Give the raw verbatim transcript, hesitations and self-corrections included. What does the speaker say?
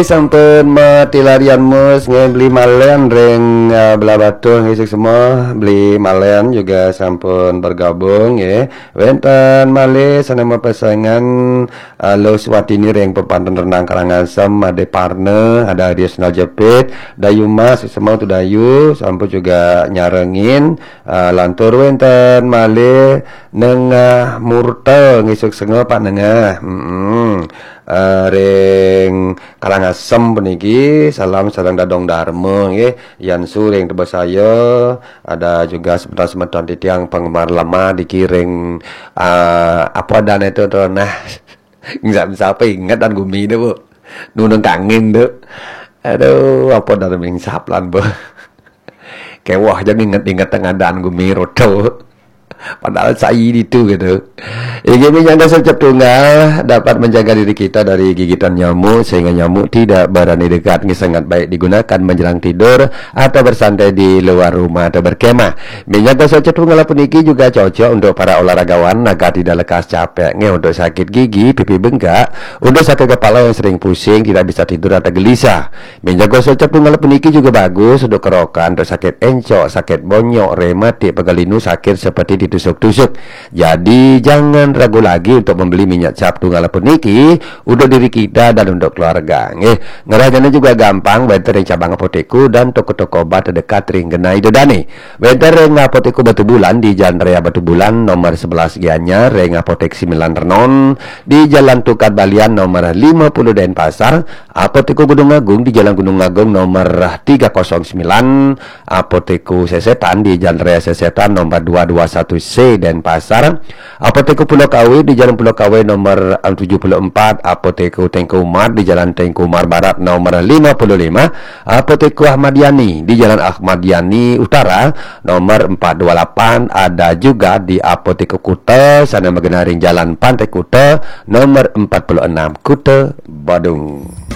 Sampun mati larian mus nggih, beli malen ring, eh, Blahbatuh nggih, suksma beli malen juga sampun bergabung nggih. Wenten malih sane mapesengan, eh, Luh Swatini ring Pepanten Rendang Karangasem, Ade Parna, ada Risnal Jepit, Dayu Mas, suksma tu Dayu, sampun juga nyarengin, eh, lantur wenten malih Nengah Murta nggih, suksma Pak Nengah. Mm-mm. Eh, ring Karangasem puniki, salam sareng dadong darma nggih. Yan suring tebesaya, ada juga semeton-semeton titiang penggemar lama dikiring, ah, apa dan itu tuh, nah, nggak bisa apa inget dan gumi deh, Bu. Nunung kangin tuh. Aduh, apa dan mingsap lan, Bu. Kewah aja nginget-inget tengadan gumi roto. Padahal sai ditu gitu. Inggih, minyak gosok cap tunggal dapat menjaga diri kita dari gigitan nyamuk sehingga nyamuk tidak berani dekat. Ini sangat baik digunakan menjelang tidur atau bersantai di luar rumah atau berkemah. Minyak gosok cap tunggal puniki juga cocok untuk para olahragawan agar tidak lekas capek. Nggih, untuk sakit gigi, pipi bengkak, untuk sakit kepala yang sering pusing, tidak bisa tidur atau gelisah. Minyak gosok cap tunggal puniki juga bagus untuk kerokan, untuk sakit encok, sakit bonyok, rematik, pegal linu, sakit seperti ditusuk-tusuk. Jadi, jangan ragu lagi untuk membeli minyak cap tunggal puniki untuk diri kita dan untuk keluarga. Nggih, ngrahayana juga gampang, wenten ring cabang apotek dan toko-toko obat terdekat ring genah Ida Dane. Wenten ring Apotek Batubulan di Jalan Raya Batubulan nomor sebelas Gianyar, ring Apotek Sembilan Renon di Jalan Tukad Balian nomor lima puluh Denpasar, Apotek Gunung Agung di Jalan Gunung Agung nomor tiga kosong sembilan, Apotek Sesetan di Jalan Raya Sesetan nomor dua dua satu C Denpasar, Apotek Pulau Kawe di Jalan Pulau Kawe nomor tujuh puluh empat, Apotek Teuku Umar di Jalan Teuku Umar Barat nomor lima puluh lima, Apotek Ahmad Yani di Jalan Ahmad Yani Utara nomor empat dua lapan, ada juga di Apotek Kuta sane magenah ring Jalan Pantai Kuta nomor empat puluh enam, Kuta Badung.